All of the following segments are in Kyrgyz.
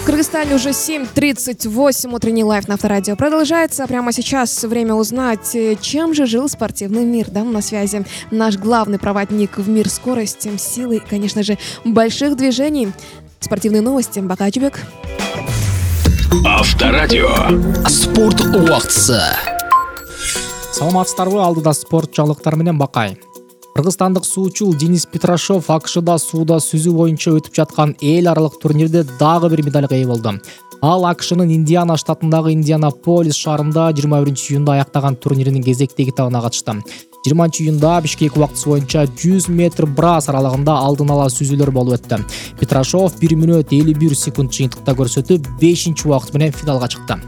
Кыргызстане уже 7:38. Утренний лайв на Авторадио продолжается. Прямо сейчас время узнать, чем же жил спортивный мир. Да, на связи наш главный проводник в мир скорости, силы и, конечно же, больших движений. Спортивные новости. Бакачбек. Авторадио. Спорт убактысы. Саламатсыздарбы, алдыда спорт жаңылыктары менен Бакай. Кыргызстандык суучул Денис Петрашов АКШда сууда сүзүү боюнча өтүп жаткан эл аралык турнирде дагы бир медалга ээ болду. Ал АКШнын Индиана штатындагы Индианаполис шаарында 21-июнда аяктаган турниринин кезектеги этабына катышты. 20-июнда Бишкек убактысы боюнча 100 метр брас аралыгында алдын ала сүзүүлөр болуп өттү. Петрашов 1 мүнөт 51 секунд жыйынтыкта көрсөтүп, 5-убакыт менен финалга чыкты.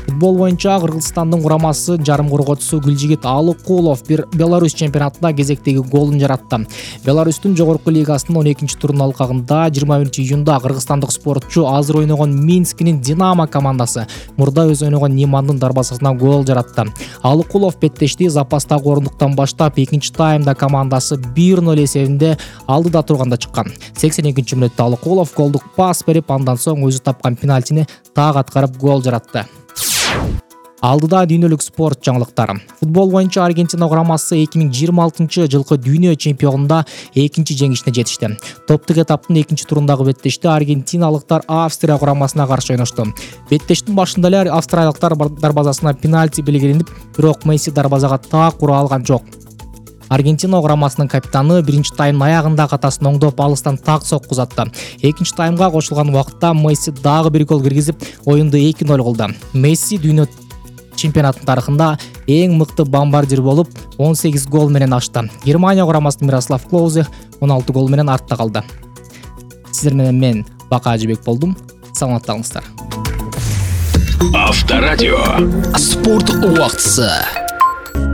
Футбол боюнча Кыргызстандын курамасы жарым коргоочусу Гүлжигит Алыкулов бир Беларусь чемпионатында кезектеги голун жаратты. Беларустун жогорку лигасынын 12-турунун алкагында 21-июнда кыргызстандык спортчу азыр ойногон Минскинин Динамо командасы мурда өз ойногон Нимандын дарбазасына гол жаратты. Алыкулов беттешти запастагы орундуктан баштап, экинчи таймда командасы 1-0 эсебинде алдыда турганда чыккан. 82-мүнөттө Алыкулов голдук пас берип, андан соң өзү тапкан пенальтини так аткарып гол жаратты. Алдыда дүйнөлүк спорт жаңылыктары. Футбол боюнча Аргентина курамасы 2026-жылкы дүйнө чемпионунда экинчи жеңишине жетишти. Топтук этаптын экинчи турундагы беттеште аргентиналыктар Австрия курамасына каршы ойношту. Беттештин башында эле австриялыктар дарбазасына пенальти белгиленип, бирок Месси дарбазага так ура алган жок. Аргентина курамасынын капитаны биринчи таймдын аягында катасын оңдоп алыстан так сокку узатты. Экинчи таймга кошулган убакытта Месси дагы бир гол киргизип, оюнду 2-0 кылды. Месси дүйнө чемпионаттын тарыхында эң мыкты бомбардир болуп, 18 гол менен ачты. Германия курамасынын Мирослав Клозе 16 гол менен артта калды. Сиздер менен мен Бакажбек болдум. Саламаттаңыздар. Авторадио. Спорт убактысы.